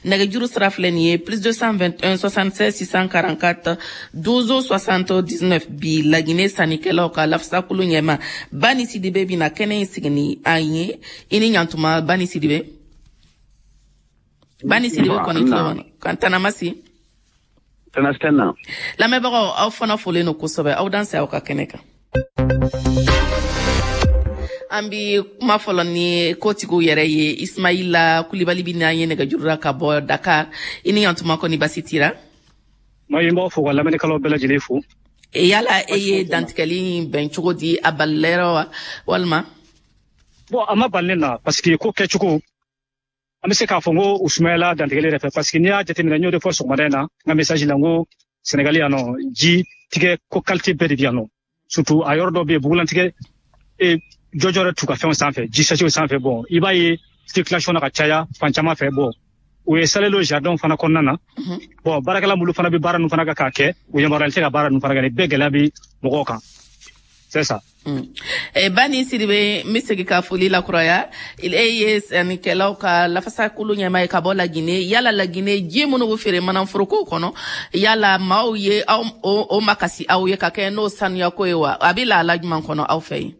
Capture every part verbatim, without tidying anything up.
Nɛgɛjuru sira filɛ nin ye plus deux cent vingt et un soixante-seize six cent quarante-quatre douze soixante-dix-neuf. Bi, Laginɛ sannikɛlaw ka lafasakulu ɲɛma Bani Sidibe bɛna kɛnɛ in sigi ni an ye. I ni ɲantuma, Bani Sidibe. Bani Sidibe kɔni tulo kan tanamasi. Tana tana. Lamɛnbagaw, aw fana folen don kosɛbɛ. Aw danse aw ka kɛnɛ kan. An bi kuma fɔlɔ ni kotigiw yɛrɛ ye. Ismaila Kulibali bi n'an ye nɛgɛjuru la ka bɔ Dakar. I ni ɲantuma, kɔni basi tira? Ma n b'aw fo ka lamɛnnikɛlaw bɛɛ lajɛlen fo. E yala e ye dantigɛli in bɛn cogo di? A balilɛrɛ wa walima? Bon, a ma bali ne na, parce que ko kɛcogo, an bɛ se k'a fɔ n ko u sumayala dantigɛli yɛrɛ fɛ, parce que n'i y'a jateminɛ, n y'o de fɔ sɔgɔmada in na n ka message la, n ko Sénégal yan nɔ, ji tigɛ ko qualité bɛɛ de bɛ yan nɔ, surtout a yɔrɔ dɔ bɛ yen, bugulantigɛ e jɔjɔ yɛrɛ t'u ka fɛnw sanfɛ, ji sachet sanfɛ. Bon, i b'a ye circulation na ka caya fan caman fɛ. Bon, u ye salelo jardin fana kɔnɔna na. Bon, baarakɛla minnu fana bɛ baara ninnu fana kɛ k'a kɛ, u yamaruyalen tɛ ka baara ninnu fana kɛ. Nin bɛɛ gɛlɛya bɛ mɔgɔw kan, c'est ça. Mm. Eh, Bani Sidibe, n bɛ segin ka foli lakuraya. E ye sannikɛlaw ka lafasakulu ɲɛmaa ye ka bɔ Laginɛ. Yala Laginɛ, ji minnu bɛ feere manaforokow kɔnɔ, yala maaw ye aw o, o makasi aw ye ka kɛ n'o sanuyako ye wa? A bɛ lahala jumɛn kɔnɔ aw fɛ yen?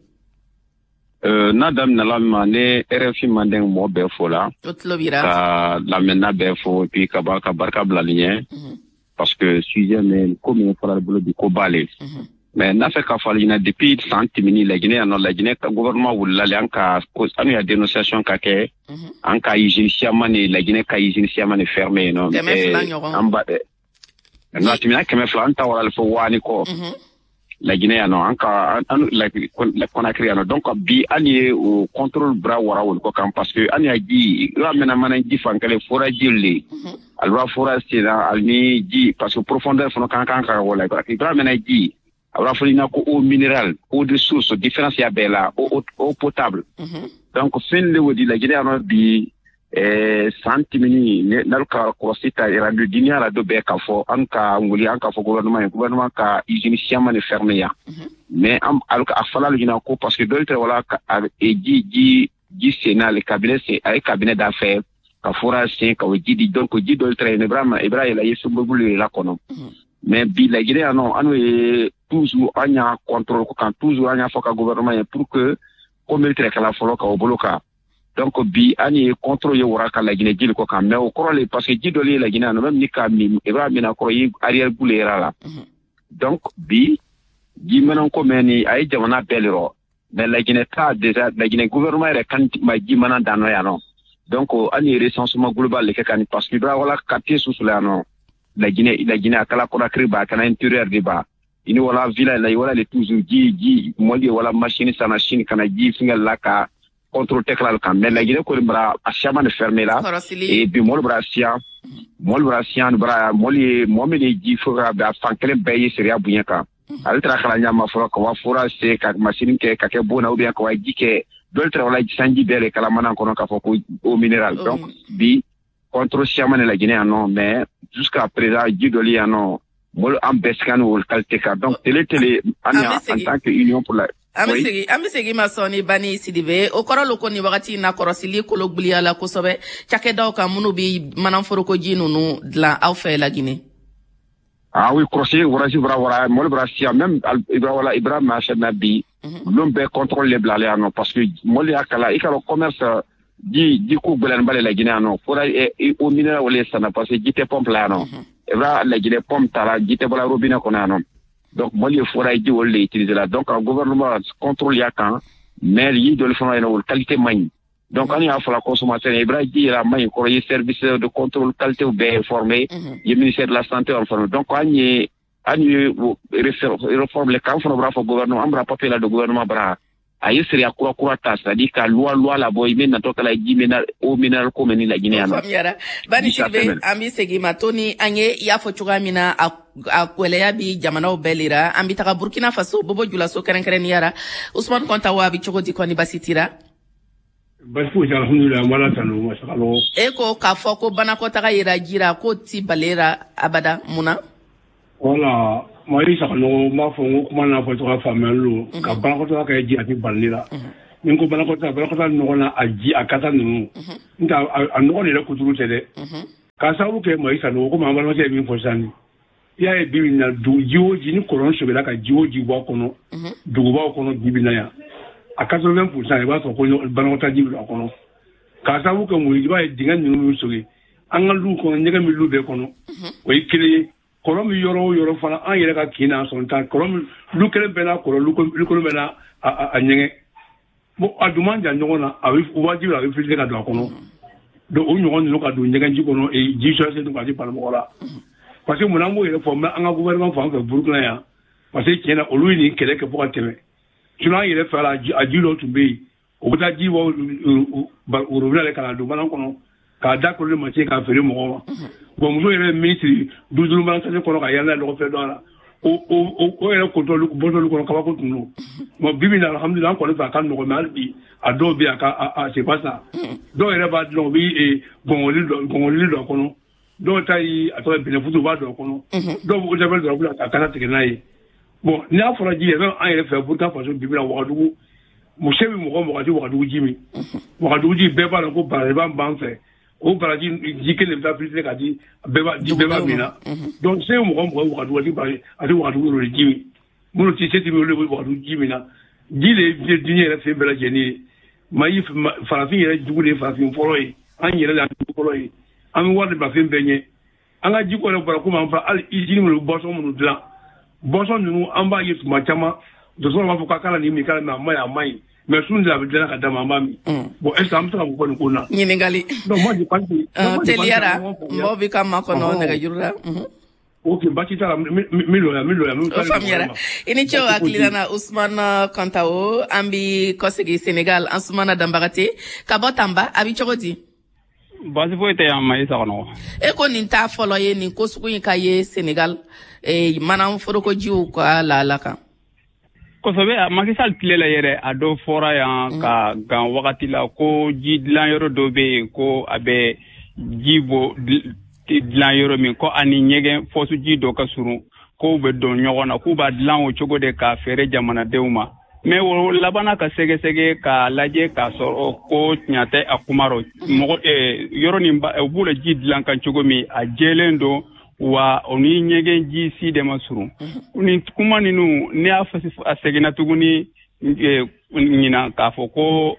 Euh, n'a daminɛla ma ne R F I Mandeng mɔgɔ bɛɛ fo la. O tulo b'i ra. Ka lamɛnna bɛɛ fo, et puis ka ba ka barika bila nin ɲɛ, parce que sujet min ko min fɔra bolo bi, ko b'ale. Mais n'a fɛ k'a fɔ ale ɲɛna, depuis san tɛmɛni Laginɛ yan nɔ, Laginɛ ka gouvernement wulila le, an ka an ya dénonciation ka kɛ, an ka usine siaman ni Laginɛ ka usine siaman ni fermé yen nɔ. Kɛmɛ fila ɲɔgɔn. An ba non, a tɛmɛna kɛmɛ fila, an ta wara fo waani kɔ Laginɛ yan nɔ, an ka an la Conakry yan nɔ. Donc bi, an ye o contrôle bra wara wol ko kan, parce que an ya ji i b'a mɛna mana ji fan kelen forage le, ali b'a forage senna ali ni ji, parce que profondeur fana kan kan ka wala. I b'a mɛna ji, a b'a fɔ ɲɛna ko eau minérale, eau de source, différence ya bɛɛ la, eau, eau potable. Donc fɛn le wo di Laginɛ yan nɔ bi. eh, san tɛmɛni n'alu ka kɔlɔsi ta radio duniya la do bɛɛ k'a fɔ an ka wuli, an ka fɔ gouvernement ye, gouvernement ka usine siaman ni fermé yan. Mais an alu a fɔla alu ɲɛna ko parce que dɔw tɛ wala ka ji ji ji senna le cabinet sen, a ye cabinet da fɛ ka forage sen ka o ji di. Donc ji dɔw tɛ yen, i b'a i b'a yɛlɛ i ye sunbɛbulu de la kɔnɔ. Mais bi Laginɛ yan nɔ, an ye toujours an y'a contrôle ko kan, toujours an y'a fɔ ka gouvernement ye pour que ko min tɛ kɛla fɔlɔ ka o bolo kan. Donc bi, an ye contrôle ye wara ka Laginɛ jili ko kan. Mais o kɔrɔ le, parce que ji dɔ le ye Laginɛ yan nɔ, même ni ka min, i b'a min a kɔrɔ i arrière goût le yɛrɛ la. Donc bi, ji mana ko mɛn ni a ye jamana bɛɛ le rɔ, mais Laginɛ ta déjà, Laginɛ gouvernement yɛrɛ kan ma ji mana dan nɔ yan nɔ. Donc an ye recensement global le kɛ ka ni, parce que i b'a wala quartier susu la yan nɔ Laginɛ Laginɛ a kala Conakry ba, a kana intérieur de ba, i ni wala village la, i wala le toujours ji ji mɔli ye wala machine sana Chine kana ji fingɛ la ka contrôle tɛ kala kan. Mais Laginɛ kɔni bara a siaman de fermé la. Et bi mɔli bara siyan, mɔli bara siyan bara mɔli ye mɔgɔ min ye ji fo ka a fan kelen bɛɛ ye sariya bonya kan, ale taara kala ɲama fɔlɔ ka wa forage se ka machine kɛ ka kɛ bon na, ou bien ka wa ji kɛ dɔw taara wala sanji bɛɛ le kala mana kɔnɔ k'a fɔ ko eau minérale. Donc bi, contrôle siaman de Laginɛ yan nɔ, mais jusqu'à présent ji dɔli yan nɔ, mɔli an bɛɛ sigan o qualité kan. Donc télé télé an ya en tant que union pour la An bɛ segin, an bɛ segin ma sɔɔni, Bani Sidibe. O kɔrɔ lo ko nin wagati in na, kɔrɔsili kolo gbiliyala kosɛbɛ cakɛdaw kan minnu bi manaforokoji ninnu dilan aw fɛ Laginɛ. Ah oui, kɔrɔsi waraji bara wara mɔli bara siya, même ibra wala ibra marché na bi, lon bɛɛ contrôle le bilala yan nɔ, parce que mɔli y'a kala i ka dɔn commerce ji ji ko gbɛlɛn bale Laginɛ yan nɔ, fɔra eau minérale wale sanna, parce que ji tɛ pompe la yan nɔ. Ibra Laginɛ pompe ta la, ji tɛ bɔla robinet kɔnɔ yan nɔ. Donc mɔli ye forage ji olu le utiliser la. Donc gouvernement contrôle y'a kan, mais yi dɔli fana yen nɔ, olu qualité man ɲi. Donc an y'a fɔla consommateur ye, ibra ji yɛrɛ a man ɲi kɔrɔ ye, service de contrôle qualité bɛɛ informé ye, ministère de la santé informé. Donc an ye an ye réforme le kan fana b'a fɔ gouvernement, an bɔra papier la de gouvernement bara a ye sariya kura kura ta, c'est à dire ka loi loi labɔ i bɛ natɔ kala ji mina eau minérale ko mɛ ni Laginɛ yan nɔ. Faamuyara, Bani Sidibe. An bɛ segin ma Toni. An ye i y'a fɔ cogoya min na, a a gwɛlɛya bi jamanaw bɛɛ lera. An bɛ taga Burkina Faso, Bobo Julaso kɛrɛnkɛrɛnnenya la. Usumani Kɔnta wa, a bɛ cogo di? Kɔni basi tira? Basi foyi tɛ, alhamdulilayi, an b'Ala tanu masakalo. E ko k'a fɔ ko banakɔtaga yera jira k'o ti balera abada, mun na? Wala Mali Sakanogo, n b'a fɔ n ko kuma n'a fɔ cogoya faamuyali don ka banakɔtaga kɛ ji a tɛ balili la. Ni n ko banakɔtaga, banakɔtaga nɔgɔ na a ji a kasa ninnu n tɛ a nɔgɔ de yɛrɛ kuturu tɛ dɛ. K'a sababu kɛ Mayi Sanogo, komi an balimakɛ ye min fɔ sisan nin, i y'a ye bi bi in na, dugu ji o ji ni kɔlɔn sɛbɛla ka ji o ji bɔ a kɔnɔ, dugubaw kɔnɔ bi bi in na yan, a quatre-vingts pour cent i b'a sɔrɔ ko banakɔtaa ji bɛ don a kɔnɔ. K'a sababu kɛ mun ye? I b'a ye dingɛ ninnu bɛ sɔgɔ an ka luw kɔnɔ, ɲɛgɛn bɛ lu bɛɛ kɔnɔ, o ye kelen ye. Kɔlɔn bɛ yɔrɔ o yɔrɔ fana, an yɛrɛ ka kin n'a sɔn ta kɔlɔn, lu kelen bɛɛ n'a kɔlɔn, lu kelen bɛɛ n'a a ɲɛgɛn. Bon, a dun man jan ɲɔgɔn na, a bɛ wajibi a bɛ filtre ka don a kɔnɔ. Donc o ɲɔgɔn ninnu ka don ɲɛgɛnji kɔnɔ, ji sɔrɔ dun ka di mɔgɔ la. Parce que mun an b'o yɛrɛ fɔ an ka gouvernement fan fɛ Burukina yan, parce que tiɲɛ na olu ye nin kɛlɛ kɛ fo ka tɛmɛ. Sinon an yɛrɛ fɛ la, a ji dɔw tun bɛ yen, o bɛ taa ji bɔ robinet la ka na don balan kɔnɔ k'a da kolo machine k'a feere mɔgɔw ma. Bon, muso yɛrɛ min siri du duuru mana sase kɔnɔ ka yala lɔgɔ fɛ dɔ a la, o o o yɛrɛ kotɔlu bɔtɔlu kɔnɔ, kabako tun don. Bon, bi bi in na, alhamdulilah, an kɔni fɛ a ka nɔgɔn, mais hali bi a dɔw bɛ yen, a ka a c'est pas ça. Dɔw yɛrɛ b'a dilan, u bɛ gɔngɔli dɔ gɔngɔli don a kɔnɔ, dɔw ta ye a tɔgɔ ye bɛnɛfutu, u b'a don a kɔnɔ, dɔw b'o javel dɔrɔn ka kasa tigɛ n'a ye. Bon, n'i y'a fɔra ji yɛrɛ, an yɛrɛ fɛ Burkina Faso bi bi in na, Wagadugu, muso bɛ mɔgɔ mɔgɔ ti Wagadugu ji min. Wagadugu ji bɛɛ b'a dɔn ko barajiba b'an fɛ, o baraji ji kelen de bɛ taa filtre ka di bɛɛ b'a di bɛɛ b'a min na. Donc se mɔgɔ mɔgɔ Wagadugu a ti baraji, a ti Wagadugu yɛrɛ ji min. Minnu ti se ti min, olu de bɛ Wagadugu ji min na. Ji de ye diɲɛ yɛrɛ fɛn bɛɛ lajɛlen ye. Mayi farafin yɛrɛ jugu de ye farafin fɔlɔ ye, an yɛrɛ de y'an jugu fɔlɔ ye. An bɛ wari de bila fɛn bɛɛ ɲɛ. An ka jiko yɛrɛ bɔra komi an fɔ hali usine minnu bɛ boisson minnu dilan, boisson ninnu an b'a ye tuma caman, dɔgɔtɔrɔ b'a fɔ k'a kana nin min, k'a min, a ma ɲi, a ma ɲi, mais sun de a bɛ dilan ka d'a ma, an b'a min. Bon, est ce que an bɛ se ka mun fɔ nin ko in na? Ɲininkali. Donc moi je pense que Teliyara, mɔgɔw bɛ ka makɔnɔ nɛgɛjuru la. Ok, baasi t'a la, n bɛ lɔ yan, n bɛ lɔ yan. O faamuyara, i ni ce o hakilina na. Usumana Kantawo, an bi kɔsegi Senegal. Ansumana Danbagate ka bɔ Tanba, a bi cogo di? Baasi foyi tɛ yan, ma i Saganɔgɔ. E ko nin t'a fɔlɔ ye nin ko sugu in ka ye Senegal, eh, mana forokojiw ka lahala kan. Kosɛbɛ, a Macky Sall tile la yɛrɛ, a dɔ fɔra yan ka gan wagati la ko ji dilan yɔrɔ dɔ bɛ yen, ko a bɛ ji bɔ dilan yɔrɔ min, ko ani ɲɛgɛn fɔsuji dɔ ka surun, k'o bɛ don ɲɔgɔn na, k'u b'a dilan o cogo de k'a feere jamanadenw ma. Mais o labanna ka sɛgɛsɛgɛ k'a lajɛ k'a sɔrɔ ko tiɲɛ tɛ a kuma rɔ. Mɔgɔ yɔrɔ nin u b'u la ji dilan kan cogo min, a jɛlen don wa, o ni ɲɛgɛn ji si de ma surun. Nin kuma ninnu, ne y'a a seginna tuguni ɲinan k'a fɔ ko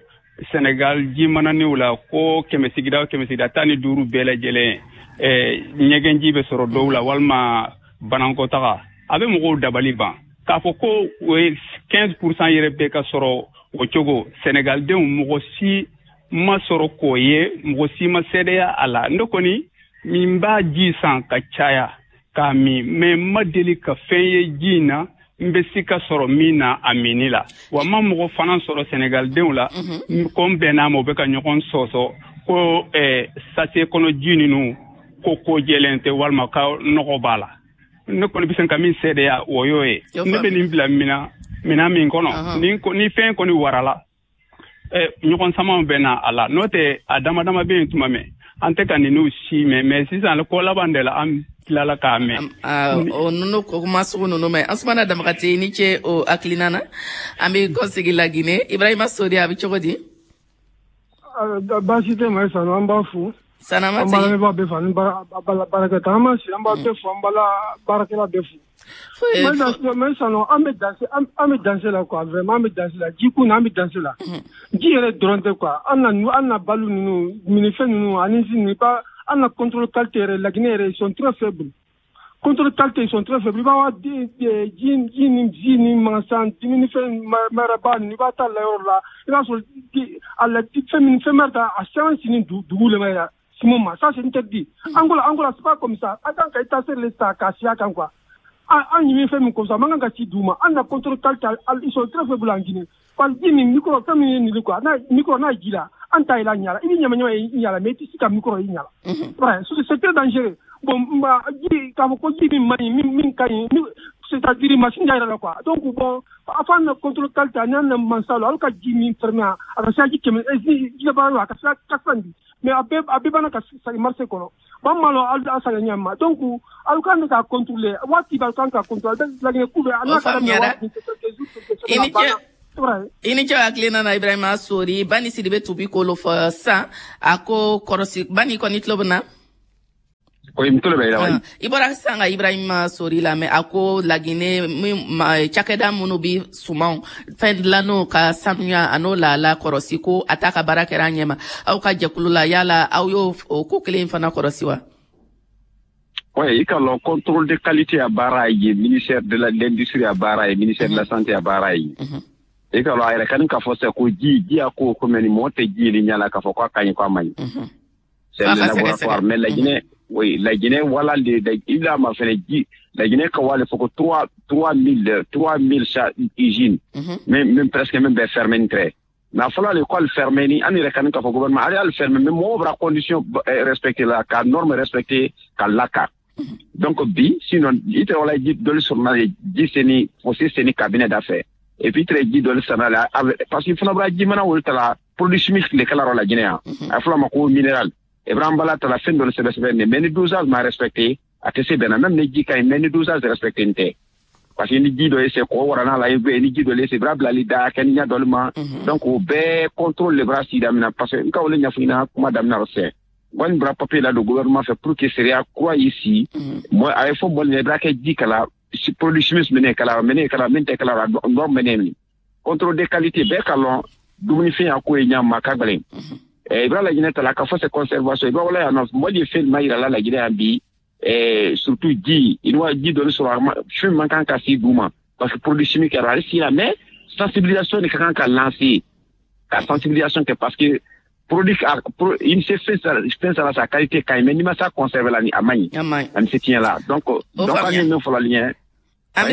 Senegal ji mananiw la, ko kɛmɛ sigida o kɛmɛ sigida tan ni duuru bɛɛ lajɛlen, ɲɛgɛn ji bɛ sɔrɔ dɔw la walima banankɔtaga. A bɛ mɔgɔw dabali ban k'a fɔ ko o ye quinze pour cent yɛrɛ bɛɛ ka sɔrɔ o cogo. Senegaldenw mɔgɔ si ma sɔrɔ k'o ye, mɔgɔ si ma seedeya a la. Ne kɔni min b'a ji san ka caya k'a min, mais n ma deli ka fɛn ye ji in na n bɛ si ka sɔrɔ min na a minni la. Wa n ma mɔgɔ fana sɔrɔ Senegaldenw la ko n bɛnn'a ma, u bɛ ka ɲɔgɔn sɔsɔ ko sachet kɔnɔ ji ninnu ko ko jɛlen tɛ walima ka nɔgɔ b'a la. Ne kɔni bɛ se ka min seedeya, o y'o ye. Ne bɛ nin bila minan minan min kɔnɔ, ni ni fɛn kɔni warala, ɲɔgɔn samaw bɛ na a la. N'o tɛ, a dama dama bɛ yen tuma mɛn an tɛ ka ninnu si mɛn, mais sisan ko laban de la an tilala k'a mɛn. O ninnu ko kuma sugu ninnu mɛn. Ansumana Damakate, i ni ce o hakilina na. An bɛ kɔsegi Laginɛ. Ibrahima Sori, a bɛ cogo di? Baasi tɛ, ma Sanu, an b'a fo. Sanama. An b'a lamɛnbaa bɛɛ fo ani baarakɛta, an b'a sigi, an b'a bɛɛ fo, an b'a baarakɛla bɛɛ fo. Mais Sanu, an bɛ danse, an bɛ danse la quoi, vraiment an bɛ danse la ji kun na, an bɛ danse la. Ji yɛrɛ dɔrɔn tɛ quoi, an na an na balo ninnu, minifɛn ninnu ani si ba, an na contrôle qualité yɛrɛ, Laginɛ yɛrɛ, ils sont très faibles. Contrôle qualité, ils sont très faibles. I b'a ji ji ni ji ni mansan dumunifɛn maraba ninnu, i b'a ta la yɔrɔ la, i b'a sɔrɔ a la fɛn min fɛn bɛ ta a sɛbɛn sini dugu le ma yɛrɛ simon ma, ça c'est interdit. Angola, Angola, c'est pas comme ça. An kan ka état le ta k'a si a kan quoi. An ɲimi fɛn min comme ça, man kan ka ci d'u ma. An na contrôle qualité, ils sont très faibles en Guinée. Parce que ji min micro fɛn min ye nin quoi, n'a micro n'a ji la, an ta ila ɲala, i bɛ ɲama ɲama ye i ɲala, mais i tɛ se ka micro i ɲala. Ouais, c'est très dangereux. Bon, ji k'a fɔ ko ji min man ɲi, min min ka ɲi, c'est-à-dire machine yɛrɛ la quoi. Donc bon, a fɔ an na contrôle qualité ani an na mansa la, alu ka ji min fermer a ka se ji kɛmɛ ji labaara a ka se quatre cent di, mais a bɛɛ a bɛɛ b'an ka sagi marché kɔnɔ. Bon, malo alu a saga ɲɛ ma, donc alu kan ka contrôler waati b'a kan ka contrôler Laginɛ ku bɛ a n'a ka daminɛ waati. I ni ce, i ni ce hakilina na, Ibrahima Sori. Bani Sidibe tubi kolo fɔ sisan, a ko kɔrɔsi. Bani kɔni tulo bɛ na. Oui, n tulo bɛ i la. Ah, i bɔra sisan ka Ibrahima Sori lamɛn, a ko Laginɛ min cakɛda minnu bi sumanw fɛn dilan'o ka sanuya a n'o lahala kɔrɔsi, ko a t'a ka baara kɛra a ɲɛma. Aw ka jɛkulu la, yala aw y'o o ko kelen fana kɔrɔsi wa? Oui, i ka lɔn contrôle de qualité a baara ye, ministère de l'industrie a baara ye, ministère de la santé a baara ye. I ka lɔn a yɛrɛ kani k'a fɔ sisan ko ji ji a ko ko mais ni mɔgɔ tɛ ji ye ɲɛ la k'a fɔ k'a ka ɲi k'a man ɲi. C'est le laboratoire. Mais la Guinée, oui, la Guinée, voilà, les, il a ma fait ji, la Guinée, quand il faut que trois, trois mille, trois mille usines, même, même presque même ben fermé très. Mais il faut l'école fermée, ni, on irait quand même au gouvernement, allez, le fermer, mais moi, on condition respecter la, ka norme respecter, ka la ka. Donc, bi, sinon, il te wala ji doli sur na ji seni, aussi seni cabinet d'affaires. Et puis, très ji doli sur la, parce qu'il faut avoir ji mana ou la produit chimique le kala la Guinée. A faut ma ko minéral. Ibrahim Bala tala fɛn dɔ sɛbɛ sɛbɛ ne, mais ni dosage ma respecté a tɛ se bɛnna, même ni ji ka ɲi, mais ni dosage respecté n tɛ, parce que ni ji dɔ ye se kɔ wara n'a la ni ji dɔ ye se bra bilali da kɛ ni ɲɛ dɔli ma. Donc o bɛɛ contrôle le bra si daminɛ, parce que n ka wale ɲɛfɔ ɲɛna kuma daminɛ la sɛ wani bra papier la do gouvernement fɛ pour que sariya kura y'i si mɔ a ye fɔ mɔli ɲɛ i bra kɛ ji kala produit chimique minɛ kala minɛ kala min tɛ kala la norme minɛ min contrôle de qualité bɛɛ ka lɔn dumunifɛn y'a ko ye ɲa ma ka gɛlɛn. I b'a Laginɛ ta la k'a fɔ c'est conservation, i b'a wala yan nɔ mɔgɔ ye fɛn ma yira la Laginɛ yan bi, surtout ji i wa ji dɔ sɔrɔ fɛn man kan ka se d'u ma parce que produit chimique yɛrɛ ale si la, mais sensibilisation de ka kan ka lancer, ka sensibilisation kɛ, parce que produit i se fɛn fɛn sara sa qualité ka ɲi, mais n'i ma sa conserver la ni a man ɲi ani se tiɲɛ la. Donc donc an ye min fɔlɔ ɲɛ. An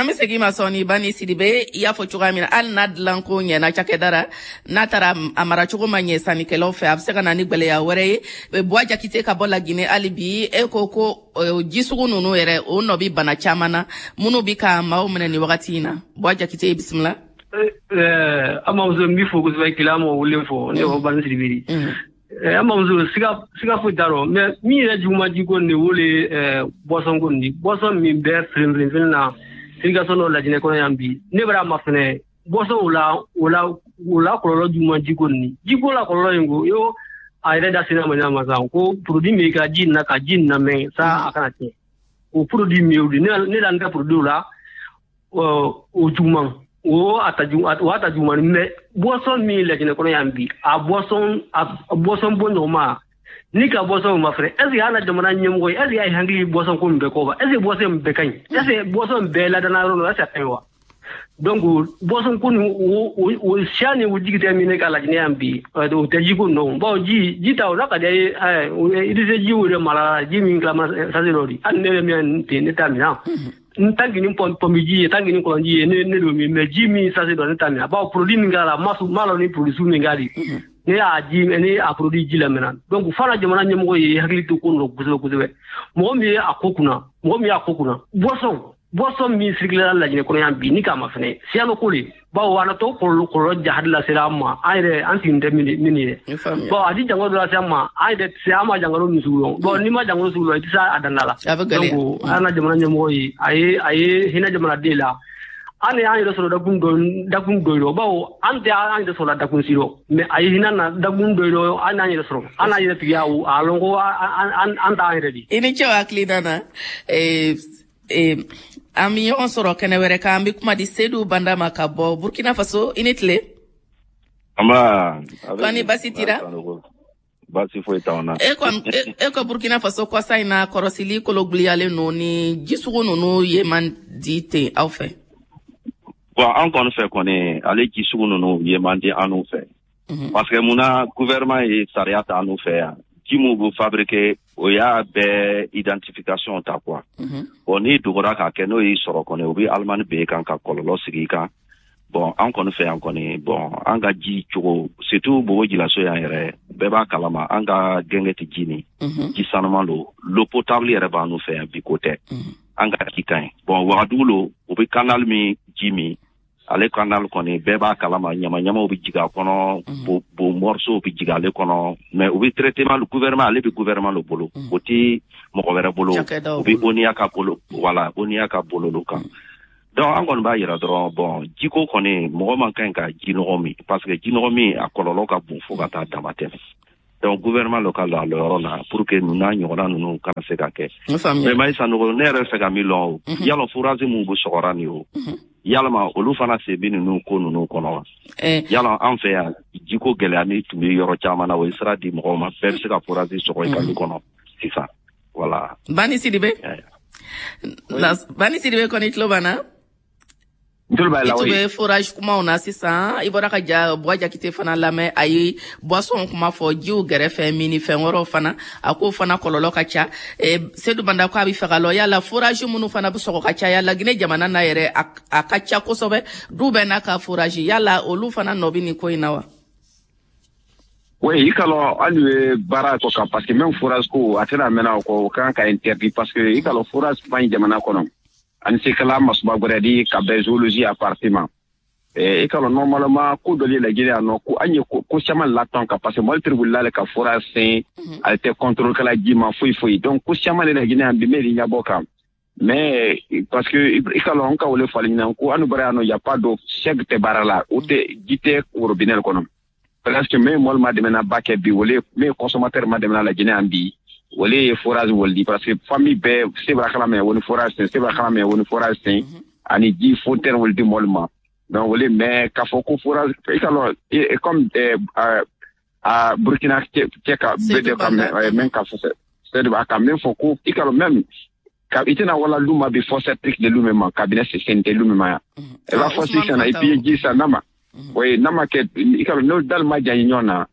bɛ segin ma sɔɔni. Bani Sidibe, i y'a fɔ cogoya min na, hali n'a dilanko ɲɛna cakɛda ra, n'a taara a maracogo ma ɲɛ sannikɛlaw fɛ, a bɛ se ka na ni gwɛlɛya wɛrɛ ye. Buwa Jakite ka bɔ Laginɛ, hali bi e ko ko ji sugu ninnu yɛrɛ o nɔ bi bana caman na minnu bi ka maaw minɛ nin wagati in na. Buwa Jakite, i bisimila. An bamuso, n b'i fo kosɛbɛ, kila mɔgɔ wele fɔ ne ko Bani Sidibe. An bamuso, siga siga foyi t'a rɔ, mais min yɛrɛ juguman jiko nin de o le boisson ko nin di, boisson min bɛɛ filen filen na irrigation dɔ Lajinɛ kɔnɔ yan bi, ne bɛra ma fɛnɛ boisson o la o la o la kɔlɔlɔ juguman jiko nin jiko la kɔlɔlɔ in ko yo a yɛrɛ da sera ma ɲama sa ko produit min ka ji na ka ji lamɛn sa a kana tiɲɛ o produit min o di ne ne la n ka produit la o juguman o a ta ju o a ta juguman, mais boisson min Lajinɛ kɔnɔ yan bi a boisson a boisson bɔ ɲɔgɔn ma ni ka boisson ma fɛnɛ, est ce que an na jamana ɲɛmɔgɔ ye, est ce que a ye hakili boisson ko nin bɛɛ kɔ wa, est ce que boisson in bɛɛ ka ɲi, est ce que boisson bɛɛ ladana yɔrɔ la, est ce que a ka ɲi wa? Donc boisson ko nin o o o siya ni o jigi tɛ min ne ka Lajinɛ yan bi o tɛ ji ko nɔ, bawo ji ji ta o n'a ka di ye i tɛ se ji o de mara ji min tilama sase dɔ di hali ne yɛrɛ min ten ne t'a min n tant que ni pɔnpi ji ye, tant que ni kɔlɔnji ye ne ne don min, mais ji min sase dɔ ne t'a min, bawo produit min k'a la ma ma lɔn ni produit sugu min k'a di ne y'a ji ne a produit ji lamɛnna. Donc fana jamana ɲɛmɔgɔ ye hakili to ko nɔ kosɛbɛ kosɛbɛ, mɔgɔ min ye a ko kunna mɔgɔ min y'a ko kunna boisson boisson min circulera Lajinɛ kɔnɔ yan bi ni k'a ma fɛnɛ siyalo ko le, bawo a natɔ kɔlɔlɔ kɔlɔlɔ jahadi lasera an ma, an yɛrɛ an sigin tɛ min ye, bon a di jango dɔ lase an ma, an yɛrɛ tɛ se an ma jangaro min sugu lɔn, bon n'i ma jangaro sugu lɔn i tɛ se a danda la. Donc an ka jamana ɲɛmɔgɔ ye a ye a ye hinɛ jamanaden la, an y'an yɛrɛ sɔrɔ dakun dɔ dakun dɔ yɔrɔ, bawo an tɛ an yɛrɛ sɔrɔ dakun si rɔ, mais a ye hinɛ na dakun dɔ yɔrɔ, an y'an yɛrɛ sɔrɔ an n'an yɛrɛ tigiya a lɔn ko an an t'an yɛrɛ di. I ni ce o hakilina na. An bɛ ɲɔgɔn sɔrɔ kɛnɛ wɛrɛ kan, an bɛ kuma di Seydou Banda ma ka bɔ Burkina Faso. I ni tile. Nba. Kɔni basi t'i la? Baasi foyi t'anw na. E ko e ko Burkina Faso kɔsa in na kɔrɔsili kologiliyalen don ni ji sugu ninnu ye man di ten aw fɛ. Bon, an kɔni fɛ kɔni ale ji sugu ninnu ye man di an fɛ. Parce que munna gouvernement ye sariya ta an fɛ yan, ji mun bɛ fabriquer o y'a bɛɛ identification ta quoi. Bon, n'i dogora k'a kɛ n'o y'i sɔrɔ kɔni o bɛ alimani b'e kan ka kɔlɔlɔ sigi i kan. Bon, an kɔni fɛ yan kɔni, bon an ka ji cogo surtout Bobo Jilaso yan yɛrɛ bɛɛ b'a kalama an ka gɛngɛ tɛ ji min, ji sanuman don, l'eau potable yɛrɛ b'an fɛ yan bi ko tɛ, an ka ji ka ɲi. Bon, Wagadugu lo o bɛ canal min ji min, ale canal kɔni bɛɛ b'a kalama ɲama ɲamaw bɛ jigin a kɔnɔ, bo bo morceau bɛ jigin ale kɔnɔ, mais u bɛ traitement le gouvernement ale bɛ gouvernement le bolo, o tɛ mɔgɔ wɛrɛ bolo, o bɛ ONUA ka bolo, voilà ONUA ka bolo lo kan. Donc an kɔni b'a yira dɔrɔn, bon jiko kɔni mɔgɔ man kan ka ji nɔgɔ min, parce que ji nɔgɔ min a kɔlɔlɔ ka bon fo ka taa dama tɛmɛ. Donc gouvernement local la yɔrɔ la pour que ninnu n'a ɲɔgɔnna ninnu kana se ka kɛ. Mais Mayi Sanogo, ne yɛrɛ fɛ ka min lɔn o, yala forage mun bɛ sɔgɔra nin o, yalama olu fana sen bɛ ninnu ko ninnu kɔnɔ wa? Yala an fɛ yan jiko gɛlɛya min tun bɛ yɔrɔ caman na, o ye sira di mɔgɔw ma, bɛɛ bɛ se ka forage sɔgɔ i ka du kɔnɔ sisan, voilà. Bani Sidibe, Bani Sidibe kɔni tulo b'an na? I tun bɛ forage kumaw na sisan, i bɔra ka ja Buwa Jakite fana lamɛn, a ye boisson kuma fɔ, jiw gɛrɛfɛ min fɛn wɛrɛw fana, a k'o fana kɔlɔlɔ ka ca. Sedu Banda ko a bɛ fɛ ka lɔ yala forage minnu fana bɛ sɔgɔ ka caya Laginɛ jamana na yɛrɛ, a ka ca kosɛbɛ, du bɛɛ n'a ka forage, yala olu fana nɔ bɛ nin ko in na wa? Oui, i ka lɔn hali ye baara kɔ kan, parce que même forage ko a tɛna mɛnna o kɔ, o kan ka interdit, parce que i ka lɔn forage man ɲi jamana kɔnɔ. Ani se kala masuba gwɛrɛ di ka bɛn zoologie appartement. I ka lɔn normalement ko dɔ le Laginɛ yan nɔ, ko an ye ko caman latɔn ka, parce que mɔli tiri wulila le ka forage sen, ale tɛ contrôle kɛla ji ma foyi foyi. Donc ko caman le Laginɛ yan bi mɛ ɲɛbɔ kan. Mais parce que i ka lɔn an ka wele fali ɲinan ko anu bara yan nɔ, y a pas d'eau, sɛg tɛ baara la, o tɛ ji tɛ robinet kɔnɔ. Presque mais mɔli ma dɛmɛ na ba kɛ bi, wele mais consommateur ma dɛmɛ na Laginɛ yan bi, wale ye forage wali, parce que famille bɛɛ se b'a kala mɛ woni forage sen, se b'a kala mɛ woni forage sen, ani ji fontaine wali di mɔli ma. Donc wale mais k'a fɔ ko forage, i ka lɔn comme a Burkina cɛ ka bɛɛ de ka mɛn ka fɔ c'est a ka min fɔ ko i ka lɔn même ka i tɛna wala lu ma bi fosse de lu ma kabinɛ sen tɛ lu ma yan. I b'a fɔ sisan i bi ji san n'a ma, oui, n'a ma kɛ i ka lɔn n'o dali ma diya ɲɔgɔn na,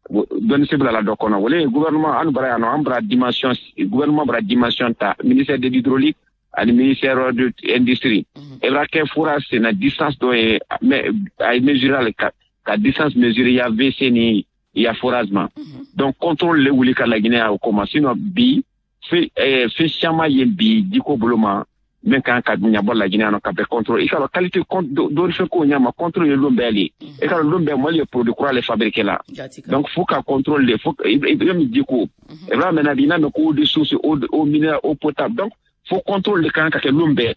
dɔnni se bila la dɔ kɔnɔ. Wale gouvernement an bara yan nɔ, an bara dimension, gouvernement bara dimension ta, ministère de l'hydraulique ani ministère de l'industrie. E b'a kɛ forage sen na distance dɔ ye, mais a ye mesurer ale ka ka distance mesurer ya W C ni ya forage ma. Donc contrôle le wuli ka Laginɛ o koma, sinon bi fɛn fɛn caman ye bi jiko bolo ma min kan ka ɲabɔ Laginɛ yan nɔ ka bɛɛ contrôle. I ka lɔn qualité dɔɔni fɛn ko ɲama contrôle ye lon bɛɛ le. I ka lɔn lon bɛɛ mɔli ye produit kura le fabriqué la. Donc faut ka contrôle le, faut i bɛ min jiko. I b'a mɛn na bi n'a mɛn ko eau de source, eau eau minérale, eau potable. Donc faut contrôle le kan ka kɛ lon bɛɛ.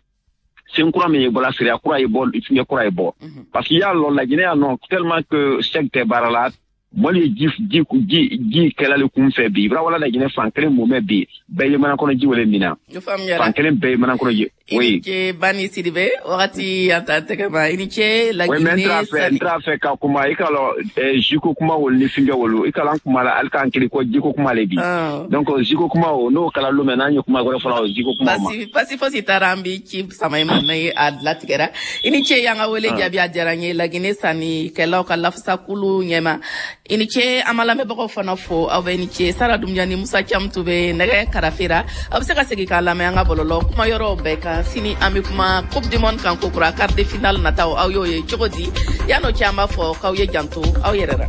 Sen kura min ye bɔla siriya kura ye bɔ, fiɲɛ kura ye bɔ. Parce que y'a lɔn Laginɛ yan nɔ tellement que sɛg tɛ baara la, mɔli ye ji ji ji ji kɛla le kun fɛ bi. I b'a wala Laginɛ fan kelen mun bɛ bi, bɛɛ ye mana kɔnɔ ji wele min na. Fan kelen bɛɛ ye mana kɔnɔ ji. Oui. I ni ce Bani Sidibe, wagati an t'an tɛgɛ ma. I ni ce Laginɛ. Oui, mais n t'a fɛ n t'a fɛ ka kuma i ka lɔn jiko kuma wolo ni fingɛ wolo, i ka lɔn an kuma la hali k'an kiri ko jiko kuma le bi. Donc jiko kuma o n'o kɛla lon mɛ n'an ye kuma wɛrɛ fɔla o jiko kuma ma. Basi basi fosi taara an bi ci sama i ma ni a latigɛra. I ni ce y'an ka wele jaabi, a diyara n ye. Laginɛ sannikɛlaw ka lafasakulu ɲɛma. I ni ce, an ma lamɛnbagaw fana fo, aw bɛ ni ce. Sara Dunbiya ni Musa Camu tun bɛ nɛgɛ karafera. Aw bɛ se ka segin k'a lamɛn an ka bɔlɔlɔ kuma yɔrɔw bɛɛ kan. Sini an bɛ kuma Coupe du Monde kan kokura, quart de finale nataw aw y'o ye cogo di? Yan'o cɛ an b'a fɔ k'aw ye janto aw yɛrɛ la.